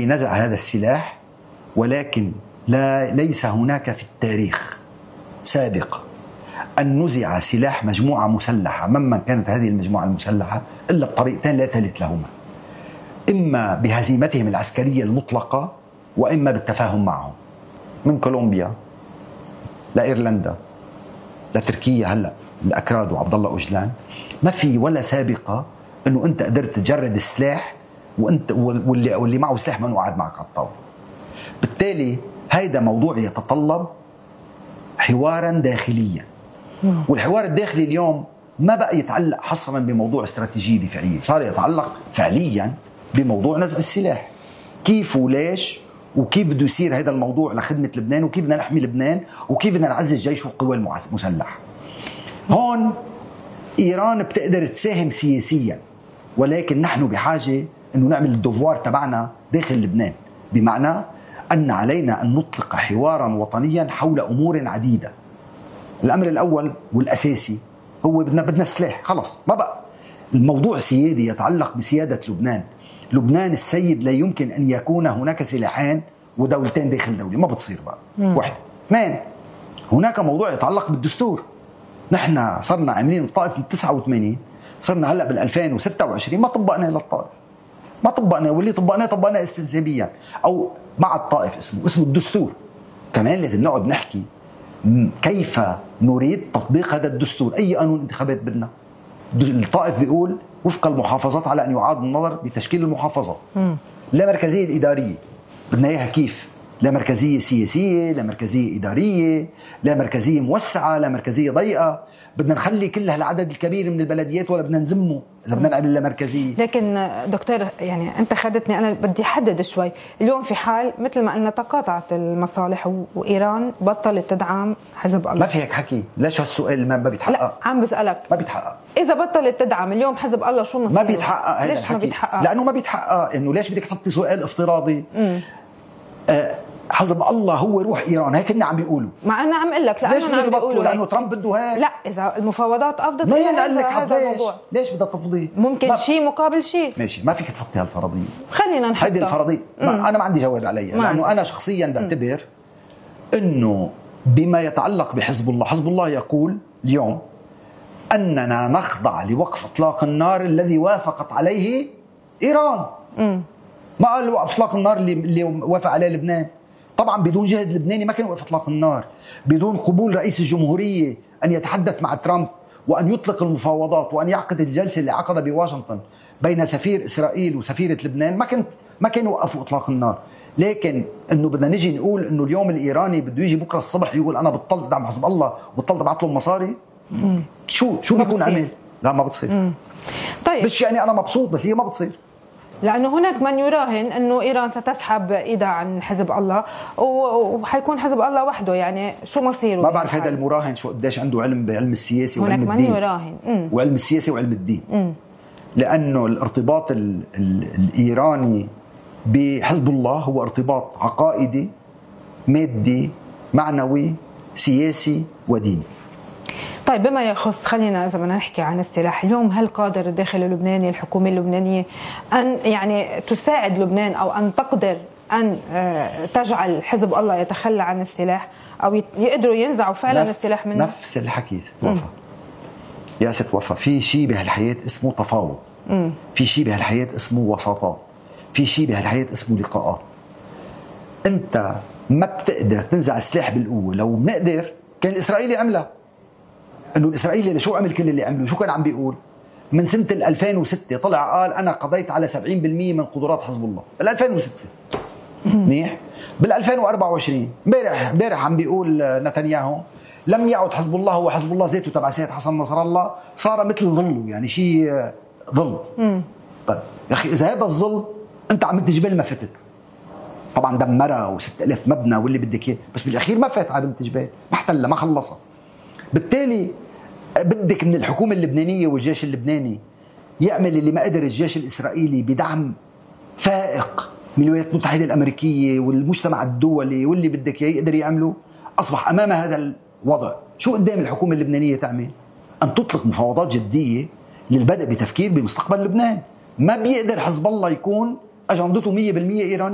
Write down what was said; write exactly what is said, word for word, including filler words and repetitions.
بنزع هذا السلاح، ولكن لا ليس هناك في التاريخ سابق أن نزع سلاح مجموعة مسلحة ممن كانت هذه المجموعة المسلحة إلا بطريقتين لا ثالث لهما: إما بهزيمتهم العسكرية المطلقة، وإما بالتفاهم معهم. من كولومبيا لإيرلندا لتركيا، هلأ الأكراد وعبد الله أوجلان، ما في ولا سابقة إنه أنت قدرت تجرد السلاح وأنت واللي واللي معه سلاح ما قاعد معك على الطاولة. بالتالي هيدا موضوع يتطلب حوارا داخليا، والحوار الداخلي اليوم ما بقى يتعلق حصرا بموضوع استراتيجية دفاعية، صار يتعلق فعليا بموضوع نزع السلاح. كيف وليش وكيف بده يصير هذا الموضوع لخدمة لبنان، وكيف بدنا نحمي لبنان، وكيف بدنا نعزز الجيش والقوى المسلحة. هون إيران بتقدر تساهم سياسيا، ولكن نحن بحاجة أنه نعمل الدوفوار تبعنا داخل لبنان، بمعنى أن علينا أن نطلق حوارا وطنيا حول أمور عديدة. الأمر الأول والأساسي هو بدنا بدنا سلاح، خلص ما بقى الموضوع سيادي يتعلق بسيادة لبنان. لبنان السيد لا يمكن أن يكون هناك سلاحين ودولتين داخل دولة، ما بتصير بقى. مم. واحد. اثنين، هناك موضوع يتعلق بالدستور. نحن صرنا عاملين الطائف من تسعة وثمانين، صرنا هلأ بالألفين وستة وعشرين ما طبقنا للطائف، ما طبقنا، واللي طبقناه طبقناه استنسابيا أو مع الطائف، اسمه اسمه الدستور. كمان لازم نقعد نحكي كيف نريد تطبيق هذا الدستور. أي قانون انتخابات بدنا؟ الطائف بيقول وفق المحافظات على أن يعاد النظر بتشكيل المحافظات. م. لا مركزية الإدارية بدنا إياها كيف؟ لا مركزية سياسية، لا مركزية إدارية، لا مركزية موسعة، لا مركزية ضيقة. بدنا نخلي كل هالعدد الكبير من البلديات ولا بدنا نزمه إذا بدنا نعمل لا مركزية؟ لكن دكتور يعني أنت خدتني، أنا بدي أحدد شوي. اليوم في حال مثل ما قلنا تقاطعت المصالح وإيران بطلت تدعم حزب الله. ما في هيك حكي. ليش هالسؤال ما بيتحقق؟ لا عم بسألك. ما بيتحقق. إذا بطلت تدعم اليوم حزب الله شو مصيره؟ ما بيتحقق هذا الحكي. ما بيتحقق؟ لأنه ما بيتحقق. إنه ليش بدك تحطي سؤال افتراضي؟ آه حزب الله هو روح إيران، هيك كنا عم بيقولوا. ما أنا عم أقول لك لأنه ليش بدنا نبطل؟ لأنه ترامب بده هيك. لا إذا المفاوضات أفضل ما ينقل لك هذا الموضوع. ليش بدها تفضي؟ ممكن شيء مقابل شيء. ماشي، ما فيك تحطي هالفرضية. خلينا نحطها. هيدي الفرضية ما أنا ما عندي جواب عليها، لأنه أنا شخصيا بعتبر إنه بما يتعلق بحزب الله، حزب الله يقول اليوم أننا نخضع لوقف إطلاق النار الذي وافقت عليه إيران. م. ما قال وقف إطلاق النار اللي, اللي وافق عليه لبنان. طبعا بدون جهد لبناني ما كان وقف إطلاق النار، بدون قبول رئيس الجمهورية أن يتحدث مع ترامب وأن يطلق المفاوضات وأن يعقد الجلسة اللي عقدها بواشنطن بين سفير إسرائيل وسفيرة لبنان، ما كان ما كانوا وقفوا إطلاق النار. لكن إنه بدنا نيجي نقول إنه اليوم الإيراني بده يجي بكرة الصبح يقول أنا بطلت دعم حزب الله وبطلت ابعث له مصاري، مم. شو شو بيكون عمل؟ لا ما بتصير. مم. طيب مش يعني أنا مبسوط، بس هي ما بتصير. لأنه هناك من يراهن أنه إيران ستسحب إيدها عن حزب الله وحيكون حزب الله وحده، يعني شو مصيره؟ ما بعرف هذا المراهن شو قديش عنده علم بعلم السياسي وعلم الدين. هناك من يراهن مم. وعلم السياسي وعلم الدين. مم. لأنه الارتباط ال ال الإيراني بحزب الله هو ارتباط عقائدي مادي معنوي سياسي وديني. طيب بما يخص، خلينا إذا بدنا نحكي عن السلاح اليوم، هل قادر الداخل اللبناني الحكومة اللبنانية أن يعني تساعد لبنان أو أن تقدر أن تجعل حزب الله يتخلى عن السلاح أو يقدروا ينزعوا فعلا نف السلاح منه؟ نفس الحكي ست وفا. يا ست وفا، في شيء بهالحياة اسمه تفاوض، م. في شيء بهالحياة اسمه وساطات، في شيء بهالحياة اسمه لقاءات. أنت ما بتقدر تنزع السلاح بالقوة. لو بنقدر كان الإسرائيلي عملها. انه الاسرائيلي شو عمل كل اللي عمله؟ شو كان عم بيقول؟ من سنه ألفين وستة طلع قال انا قضيت على سبعين بالمئة من قدرات حزب الله بال ألفين وستة. منيح. بال ألفين وأربعة وعشرين امبارح امبارح عم بيقول نتنياهو لم يعد حزب الله هو حزب الله ذاته تبع سيد حسن نصر الله، صار مثل ظله، يعني شيء ظل. طيب يا اخي اذا هذا الظل انت عم تجبل ما فتت، طبعا دمرها وستة آلاف مبنى واللي بدك اياه، بس بالاخير ما فات على بنت جبال، ما احتلها ما خلصها. بالتالي بدك من الحكومة اللبنانية والجيش اللبناني يعمل اللي ما قدر الجيش الإسرائيلي بدعم فائق من الولايات المتحدة الأمريكية والمجتمع الدولي واللي بدك يقدر يعمله. أصبح أمام هذا الوضع شو قدام الحكومة اللبنانية تعمل؟ أن تطلق مفاوضات جدية للبدء بتفكير بمستقبل لبنان. ما بيقدر حزب الله يكون أجندته مية بالمية إيرانية.